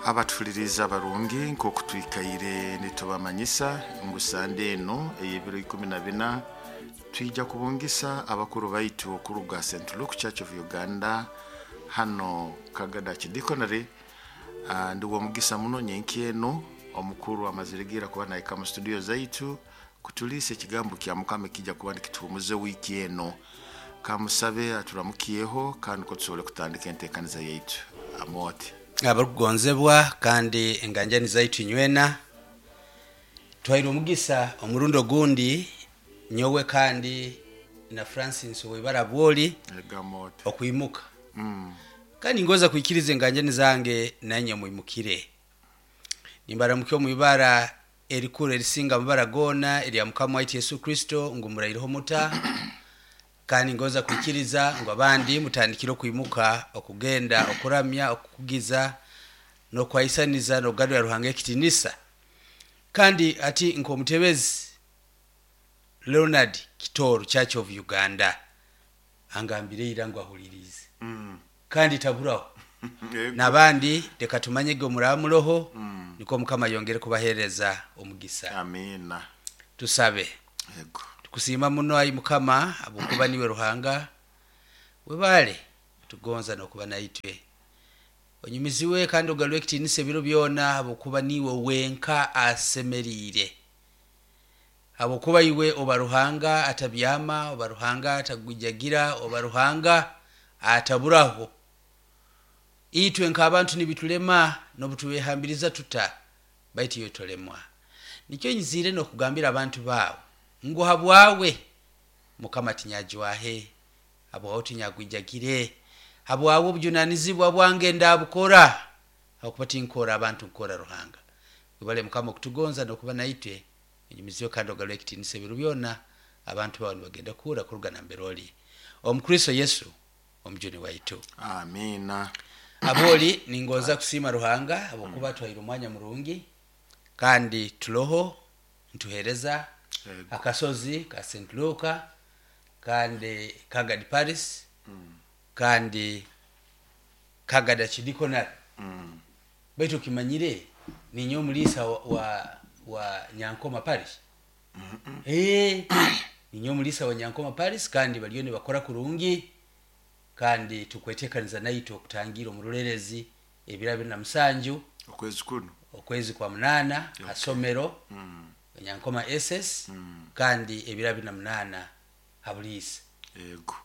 Abatuhuliriza abarungi, nk'oku twikaire nitubamanyisa ngu sande eno ey'ebiro 14 twija kubungisa abakuru baitu okuruga St. Luke Church of Uganda hano Kagada Archdeaconry. Ndi w'omugisa muno nyenki eno omukuru amazire kuba nahika mu studio zaitu kutuliisa ekigambo kya Mukama ekijja kuba nikituhumuza wiiki eno. Kamusabe aturamukyeho kandi ko tusobole kutandika enteekaniza yaitu. Amooti. Abarukugonzebwa kandi enganjani zaitu inywena, twairwe omugisa omurundi ogundi, nyowe kandi na Francis Owaibara Bwoli Egamooti. okwimuka. Kandi ngoza kwikiriza enganjani zange nanye mwimukire. Nimbaramukya omu ibara erikuru erisinga amabara goona erya Mukama waitu Yesu Kristo, ngu muraireho muta, kandi ngoza kwikiriza ngu abandi mutandikire okwimuka okugenda okuramya, okukugiza n'okwaisaniza n'okugarurira Ruhanga ekitinisa. Kandi ati nk'omutebezi Leonard Kitoro, Church of Uganda, angambire ira ngu ahuliriize kandi taburaho. N'abandi leka tumanyege omuramuroho, nikwo Mukama yongere kubahereza omugisa. Amiina. Tusabe. Ego. Tukusiima muno, ai Mukama, habwokuba niwe Ruhanga webale tugonza n'okuba naitwe. Onyumiziwe kandi ogarure ekitiinisa ebiro byona, habwokuba niwe wenka asemeriire, habwokuba iwe oba Ruhanga atabyama, oba Ruhanga atagwijagira, oba Ruhanga ataburaho. Itwe nk'abantu nibitulema n'obutubehambiriza tuta, baitu iwe tolemwa. Nikyo nyiziire n'okugambira abantu baawe ngu habwawe Mukama tinyajwahe, habwawe tinyagwijagire, habwawe obujunanizibwa bwange ndabukora, habwokuba tinkora abantu, nkora Ruhanga. Webale Mukama okutugonza n'okuba naitwe. Onyumiziwe kandi ogarure ekitiinisa ebiro byona. Abantu bawe nibagenda kuhura kuruga nambere oli, omu Kristo Yesu omujuni waitu. Amiina. Aboli, ningoza kusiima Ruhanga habwokuba twaire omwanya murungi kandi tuloho ntuhereza akasozi ka St. Luka kandi Kagadi Parish kandi Kagadi Archdeaconry. Baitu okimanyire ninyowe omuliisa wa Nyankoma Parish? Ninyowe omuliisa wa Nyankoma Parish, kandi bariyo nibakora kurungi, kandi tukwetekaniza naitwe okutangira omurulerezi ebiro 27 okwezi kuno, okwezi kwa 8, hasomero Nyankoma SS, kandi ebiro 28 habuliisa. Ego.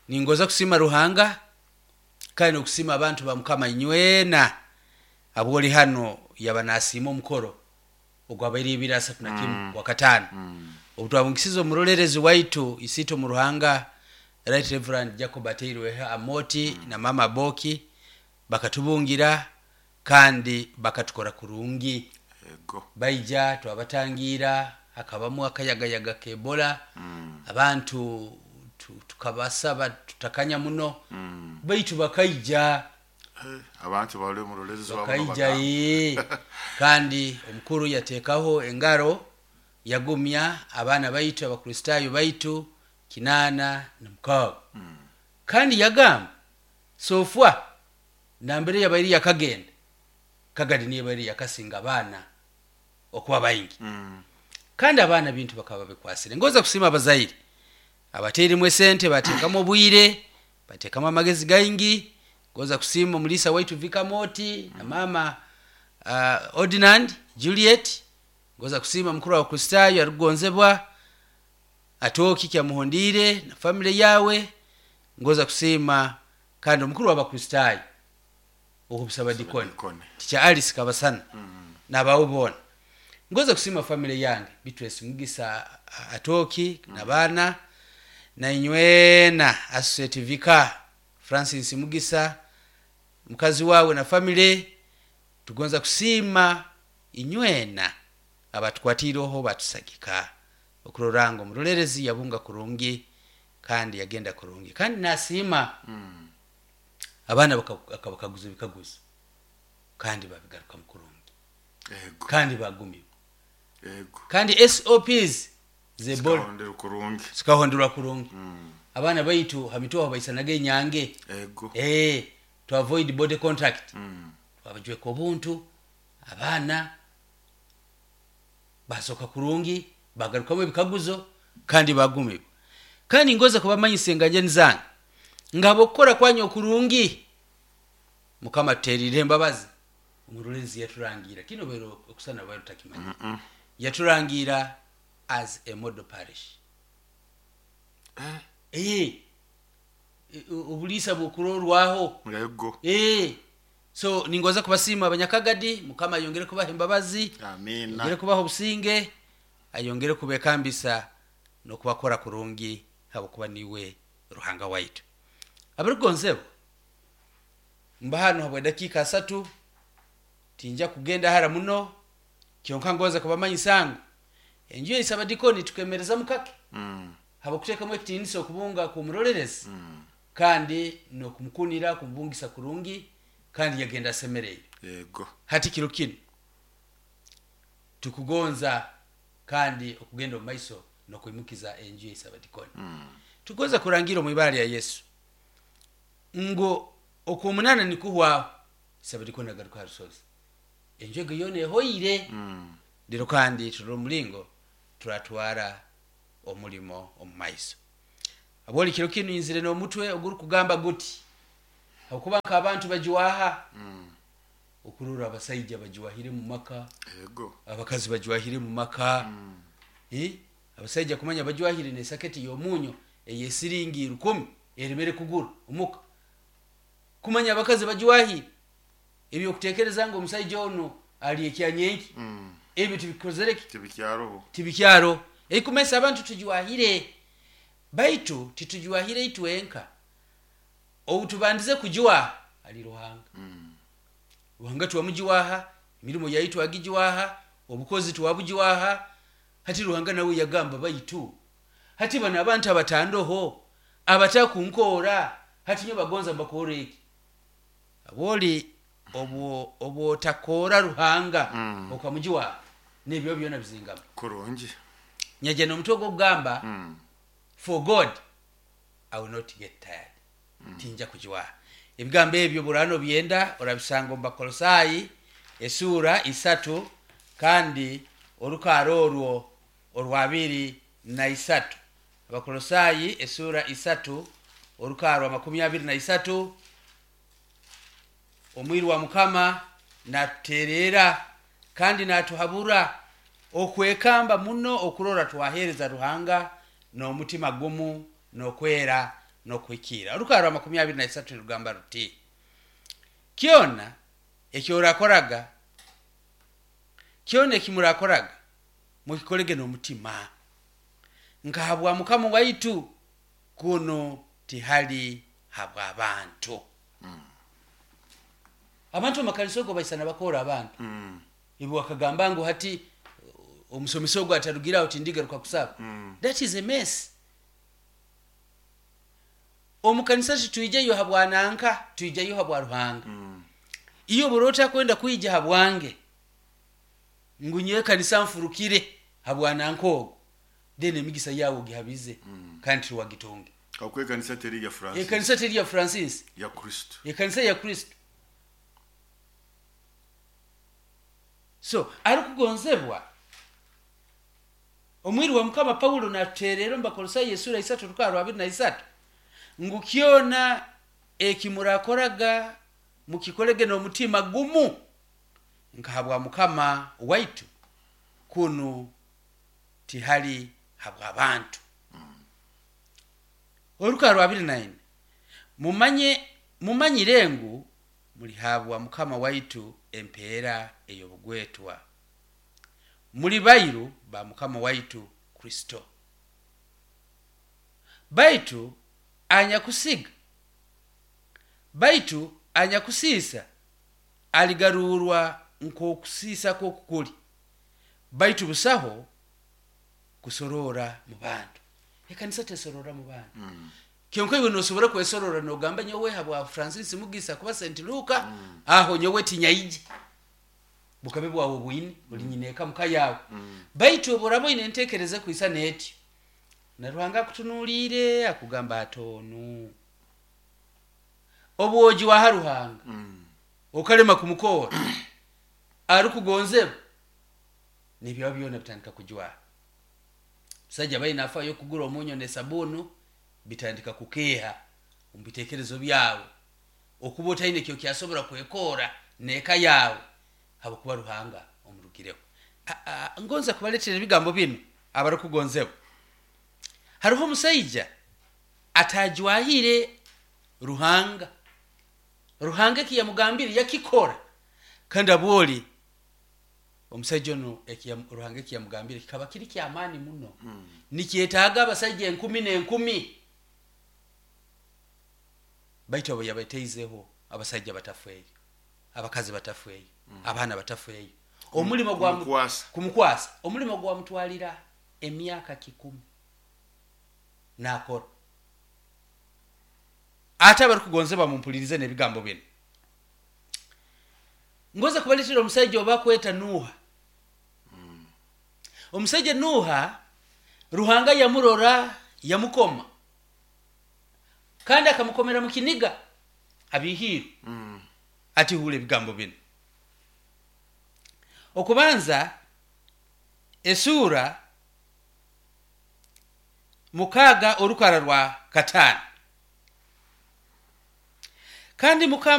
Ningoza kusiima Ruhanga kandi n'okusiima abantu ba Mukama inywena abwoli hano. Yaba nasiima omukoro ogwabaire 31 kwa 5, obu twabungisize omurolerezi waitu isiito mu Ruhanga, Right Reverend Jacob Ateirweho Amoti na Mama Boki, bakatubungira kandi bakatukora kurungi. Ego. Baija twabatangira, hakabamu akayagayaga k'Ebola. Abantu tukabasaba tutakanya muno, baitu bakaija. Abantu bali omurorerezi wabo. Bakaija ye, kandi omukuru yateekaho engaro yagumya abaana baitu, abakristaayo baitu 86, kandi yagamba so far nambere yabaire yakagenda, Kagadi niyo baire yakasinga abaana okuba baingi. Kandi abaana bintu bakaba babikwasire. Ngoza kusiima abazaire abateiremu esente, bateekamu obwire, bateekamu amagezi gaingi. Ngoza kusiima omuliisa waitu Vikamoti na mama Ordinand Juliet. Ngoza kusiima mukuru wa Kristaayo arikugonzebwa Atooki Kyamuhondiire na family yawe. Ngoza kusiima kandi omukuru w'abakristaayo okubusaba dikoni Dikoni. Tikya Alice Kabasana n'abawe boona. Ngoza kusiima family yange, Beatrice Mugisa Atooki n'abaana, nainywena Associate Vicar Francis Mugisa, mukazi wawe na family. Tugonza kusiima inywena abatukwatiireho, batusagika okurora ngu omurolerezi yabunga kurungi kandi yagenda kurungi. Kandi nasiima abaana akabakaguza ebikaguzo kandi babigarukamu kurungi. Ego. Kandi bagumirwa. Ego. Kandi SOPs z'Ebola zikahondera kurungi. Zikahonderwa kurungi. Abaana baitu ha mitwe aho baisanaga enyange. Ego. To avoid body contact. Twabajweka obuntu, abaana basoka kurungi, bagarukamu ebikaguzo kandi bagumibwa. Kandi ngoza kubamanyisa enganjani zange ngabo okukora kwanyu okurungi Mukama tuterire embabazi, omurolerezi yaturangira kino bero okusana bero takimanya. Yaturangira as a model parish. Obulisa bwokurorwaho. Yego. So ningoza kubasiima abanyakagadi, Mukama ayongere kubaha embabazi, Amina. ayongere kubaha obusinge, ayongere kubekambisa n'okubakora kurungi habwokuba niwe Ruhanga waitu. Abarigonzebwa mba hano habwa dakiika 3, tinja kugenda hara muno, kyonka ngoza kubamanyisa ngu enju ya Sabadikoni tukemereza mukake. Habwokuteekamu ekitiinisa okubunga kumurolerezi, kandi n'okumukunira kumubungisa kurungi, kandi yagenda asemereire. Yego. Hati kiro kino tukugonza kandi okugenda omu maiso n'okwimukiza enju ya Sabadikoni. Tugonza kurangira omu ibara lya Yesu ngo okwomunana nikuhwaho Sabadikoni agaruka ha rusozi, enju ego yoona ehoire. Lero kandi turora omulingo turatwara omulimo omu maiso. Aboli kiro kinu inzire n'omutwe ogurukugamba guti, habwokuba nk'abantu bajuwaha, okurora abasaija bajuwahire mu maka, Yego. abakazi bajuwahire mu maka. Abasaija kumanya bajuwahire n'esaketi y'omunyo ey'esiringi 10 eremere kugura omuka. Kumanya abakazi bajuwahire ebyokutekereza ngu omusaija ono ali ekyanyenki, ebyo tibikozereki, Tibikyaroho. Tibikyaro. Ekumesa abantu tujuwahire, baitu titujuwahire itwenka. Obu tubandize kujuwaha ali Ruhanga. Ruhanga twamujuwaha, emirimo yaitu agijuwaha, obukozi twabujuwaha. Hati Ruhanga nawe yagamba baitu hati bano abantu abatandoho abatakunkora hati nyo bagonza mbakore eki. Aboli obwotakora Ruhanga, okamujuwaha n'ebyo byona bizingama. Kurungi. Nyaje n'omutwe gw'okugamba, for God I will not get tired. Tinja kujuwaha. Ebigambo ebyo burano byenda orabisanga omu Bakolosaayi esura 3 kandi orukaaro orwo orwa 23. Abakolosaayi esura 3 orukaaro 23. Omwiru wa Mukama natuterera kandi natuhabura okwekamba muno okurora twahereza Ruhanga n'omutima gumu n'okwera n'okuhikira. Orukaaro 23 nirugamba ruti, kyona ekyorakoraga, kyona ekimurakoraga mukikolege n'omutima nkahabwa Mukama waitu, kuno tihali habw'abantu. Abantu omu ogo baisana bakora abantu. Ibo wakagamba ngu hati omusomesa ogwo atarugiraho tindigaruka kusaba. That is a mess. Omukanisa titwijayo habwananka, twijayo habwa Ruhanga. Iyo burota kwenda kwija habwange ngu nyewe kanisa mfurukire habwananka ogwo, then emigisa yawe ogihabize, kandi tiwagitunge. Kakwe kanisa teri ya Francis. Ekanisa teri ya Francis. Ya Kristo. Ekanisa ya Kristo. So arikugonzebwa omwiru wa Mukama Paulo natuterera omu Bakolosaayi esura 3 rukaaro 23 ngu kyona ekimurakoraga mukikolege n'omutima gumu nkahabwa Mukama waitu, kunu tihali habw'abantu. Orukaaro 24, mumanyire ngu mulihabwa Mukama waitu empeera ey'obugwetwa, muli bairu ba Mukama waitu Kristo. Baitu anyakusiga, baitu anyakusiisa aligarurwa nk'okusiisa kw'okukuli, baitu busaho kusorora mu bantu. Ekanisa tesorora mu bantu. Kyonka iwe nosobora kwesorora nogamba nyowe habwa Francis Mugisa kuba St. Luka, aho nyowe tinyaije. Bukabe bwawe bwine, uli nyineka muka yawe. Baitu oborabo ine ntekereze kuisa neti. Na Ruhanga akutunuulire akugamba atonu. Obwoji wa Ruhanga. Okalema kumukora arikugonzebwa, nebyawe byona bitandika kujwara. Musajja baina afayo kugura omunyo nesabunu, bitandika kukeha omu bitekerezo byawe, okuba otaine ekyo kyasobora kwekora neka yawe, habwokuba Ruhanga omurugireho. Ngonza kubaletera ebigambo binu abarukugonzebwa. Hariho omusaija atajwahire Ruhanga. Ruhanga ekiyamugambire yakikora, kandi abwoli omusaija onu Ruhanga ekiyamugambire kikaba kiri kyamaani muno, nikyetaaga abasaija enkumi n'enkumi, baitu abo yabateizeho abasaija batafeeyo, abakazi batafeeyo, abaana batafeeyo. Omulimo gwa Kumukwasa. Kumukwasa omulimo gwamutwalira emyaka 100 nakora. Ate abarukugonzebwa, mumpulirize n'ebigambo bino. Ngoza kubaletera omusaija oba kweta Nuha. Omusaija Nuha, Ruhanga yamurora, yamukoma, kandi akamukomera mu kiniga abihiirwe. Ati hula ebigambo bino. Okubanza esura 6 orukara rwa 5. Kandi Mukama